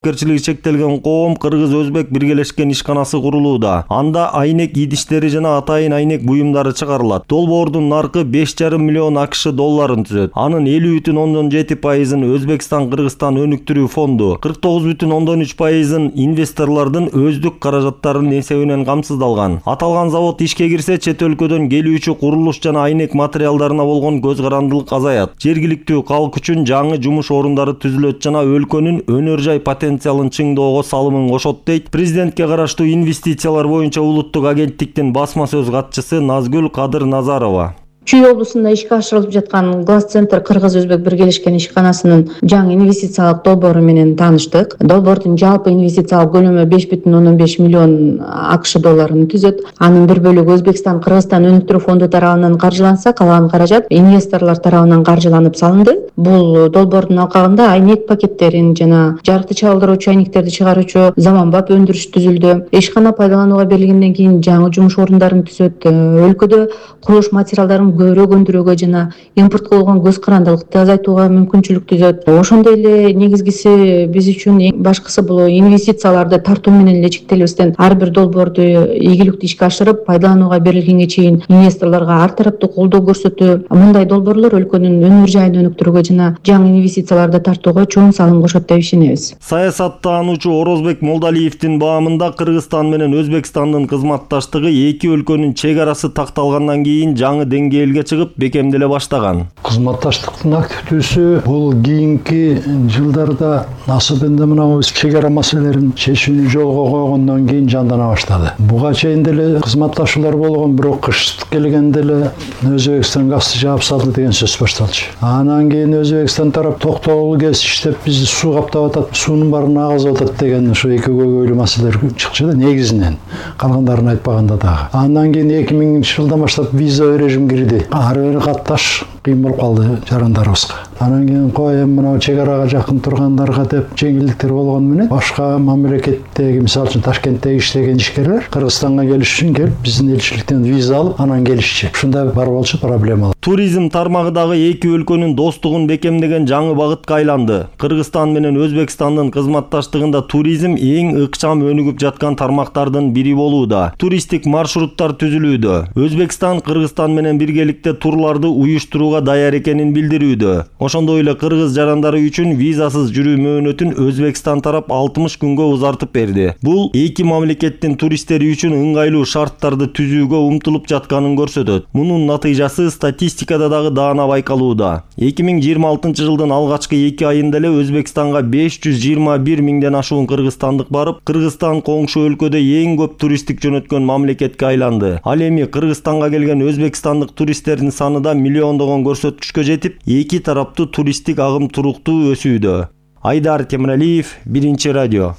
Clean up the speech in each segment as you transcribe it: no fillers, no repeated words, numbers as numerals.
жоопкерчилиги чектелген коом кыргыз-өзбек биргелешкен ишканасы курулууда. Анда айнек идиштери жана атайын айнек буюмдары чыгарылат. Долбоордун наркы 5,5 миллион АКШ долларын түзөт. Анын 50,7%-ын Өзбекстан Кыргызстан өнүктүрүү фонду, 49,3%-ын инвесторлордун өздүк каражаттарынын эсебинен камсыздалган. Аталган завод ишке кирсе, чет өлкөдөн келүүчү курулуш жана айнек материалдарына болгон көз карандылык азаят. Жергиликтүү калк үчүн жаңы жумуш орундары түзүлөт жана өлкөнүн өнөр жай потенциалын чыңдоого салымын кошот, дейт президентке караштуу инвестициялар боюнча улуттук агенттиктин басма сөз катчысы Назгүл Кадыр Назарова. Чүй облусунда ишке ашырылып жаткан Глаз-центр Кыргыз-Өзбек биргелешкен ишканасынын жаңы инвестициялык долбоору менен тааныштык. Долбоордун жалпы инвестициялык көлөмү 5,15 миллион АКШ долларын түзөт. Анын бир бөлүгү Өзбекстан Кыргызстан өнүктүрүү фонду тарабынан каржыланса, калган каражат инвесторлор тарабынан каржыланып салынды. Бул долбоордун алкагында айнек пакеттерин жана жарыкты чагылдыруучу айнектерди чыгаруучу заманбап өндүрүш түзүлдү. Ишкана пайдаланууга берилгенден кийин жаңы жумуш орундарын түзөт. Өлкөдө курулуш материалдарын көбүрөөк өндүрүүгө жана импортко болгон көз карандылыкты азайтууга мүмкүнчүлүк түзөт. Ошондой эле негизгиси биз үчүн эң башкысы бул инвестицияларды тартуу менен эле чектелбестен ар бир долбоорду ийгиликтүү ишке ашырып, пайдаланууга берилгенге чейин инвесторлорго ар тараптуу колдоо көрсөтүү. Мындай долбоорлор өлкөнүн өнөр жайын өнүктүрүүгө жана жаңы инвестицияларды тартууга чоң салым кошот деп ишенебиз. Саясаттануучу Орозбек Молдалиевдин баамында Кыргызстан менен Өзбекстандын кызматташтыгы эки өлкөнүн чек арасы такталгандан кийин жаңы деңгээлге чыгып бекемделе баштаган. Кызматташтыктын активдүүсү бул кийинки жылдарда асыбында мына чек ара маселелерин чечүүнү жолго койгондон кийин жандана баштады. Буга чейин деле кызматташуулар болгон, бирок кыш келгенде эле Өзбекстан газды жаап салды деген сөз башталчу. Анан кийин Өзбекстан тарап токтогул кез иштеп бизди суу каптап атат, суунун баарын агызып атат деген ушу эки көйгөйлүү маселелер чыкчу да негизинен. Калгандарын айтпаганда дагы. Андан кийин 2000 жылдан баштап виза режим кирди. Ары бери катташ кыйын болуп калды жарандарыбызга. Анан кийин кой мына чек арага жакын тургандарга деп жеңилдиктер болгону менен башка мамлекеттеги, мисалы үчүн Ташкенттеги иштеген ишкерлер Кыргызстанга келиш үчүн келип биздин элчиликтен виза алып анан келишчи. Ушундай бар болчу проблема. Туризм тармагы дагы эки өлкөнүн достугун бекемдеген жаңы багытка айланды. Кыргызстан менен Өзбекстандын кызматташтыгында туризм эң ыкчам өнүгүп жаткан тармактардын бири болууда. Туристтик маршруттар түзүлүүдө. Өзбекстан Кыргызстан менен биргеликте турларды уюштурууга даяр экенин билдирүүдө. Ошондой эле кыргыз жарандары үчүн визасыз жүрүү мөөнөтүн Өзбекстан тарап 60 күнгө узартып берди. Бул эки мамлекеттин туристтери үчүн ыңгайлуу шарттарды түзүүгө умтулуп жатканын көрсөтөт. Мунун натыйжасы статистикада дагы даана байкалууда. 2026 жылдын алгачкы 2 айында эле Өзбекстанга 521 миңден ашуун кыргызстандык барып, Кыргызстан коңшу өлкөдө эң көп туристтик жөнөткөн мамлекетке айланды. Ал эми Кыргызстанга келген өзбекстандык туристтердин саны да миллиондогон көрсөткүчкө жетип, эки тараптуу туристтик агым туруктуу өсүүдө. Айдар Темиралиев, Биринчи радио.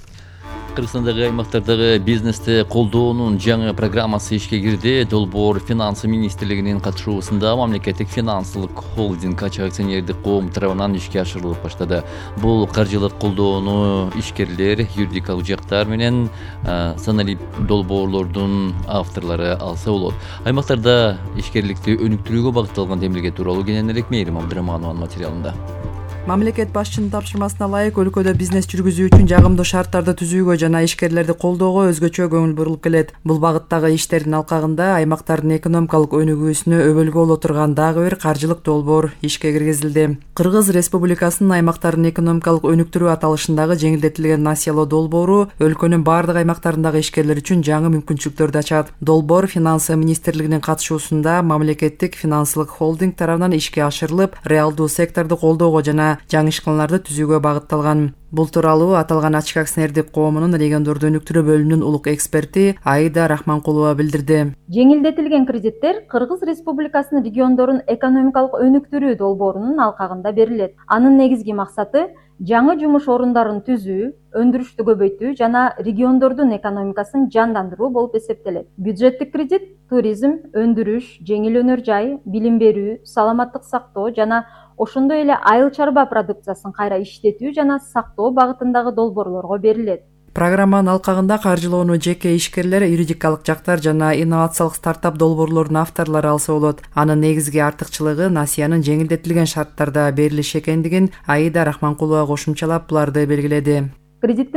Кыргызстандагы аймактардагы бизнести колдоонун жаңы программасы ишке кирди. Долбоор Финансы министрлигинин катышуусунда мамлекеттик финансылык холдинг акционердик коом тарабынан ишке ашырылып баштады. Бул каржылык колдоону ишкерлер, юридикалык жактар менен саналип долбоорлордун авторлору алса болот. Аймактарда ишкерликти өнүктүрүүгө багытталган демилге тууралуу кененирээк Мээрим Абдыраманованын материалында. Мамлекет башчынын тапшырмасына ылайык өлкөдө бизнес жүргүзүү үчүн жагымдуу шарттарды түзүүгө жана ишкерлерди колдоого өзгөчө көңүл бурулуп келет. Бул багыттагы иштердин алкагында аймактардын экономикалык өнүгүүсүнө өбөлгө боло турган дагы бир каржылык долбоор ишке киргизилди. Кыргыз Республикасынын аймактардын экономикалык өнүктүрүү аталышындагы жеңилдетилген насыялоо долбоору өлкөнүн бардык аймактарындагы ишкерлер үчүн жаңы мүмкүнчүлүктөрдү ачат. Долбоор Финансы министрлигинин катышуусунда мамлекеттик финансылык холдинг тарабынан ишке ашырылып, реалдуу секторду колдоого жана жаңы ишканаларды түзүүгө багытталган. Бул тууралуу аталган ачык акционердик коомунун региондорду өнүктүрүү бөлүмүнүн улук эксперти Аида Рахманкулова билдирди. Жеңилдетилген кредиттер Кыргыз Республикасынын региондорун экономикалык өнүктүрүү долбоорунун алкагында берилет. Анын негизги максаты жаңы жумуш орундарын түзүү, өндүрүштү көбөйтүү жана региондордун экономикасын жандандыруу болуп эсептелет. Бюджеттик кредит туризм, өндүрүш, жеңил өнөр жай, билим берүү, саламаттык сактоо жана ошондой эле айыл чарба продукциясын кайра иштетүү жана сактоо багытындагы долбоорлорго берилет. Программанын алкагында каржылоону жеке ишкерлер, юридикалык жактар жана инновациялык стартап долбоорлорунун авторлору алса болот. Анын негизги артыкчылыгы насыянын жеңилдетилген шарттарда берилиши экендигин Аида Рахманкулова кошумчалап буларды белгиледи. кредиттин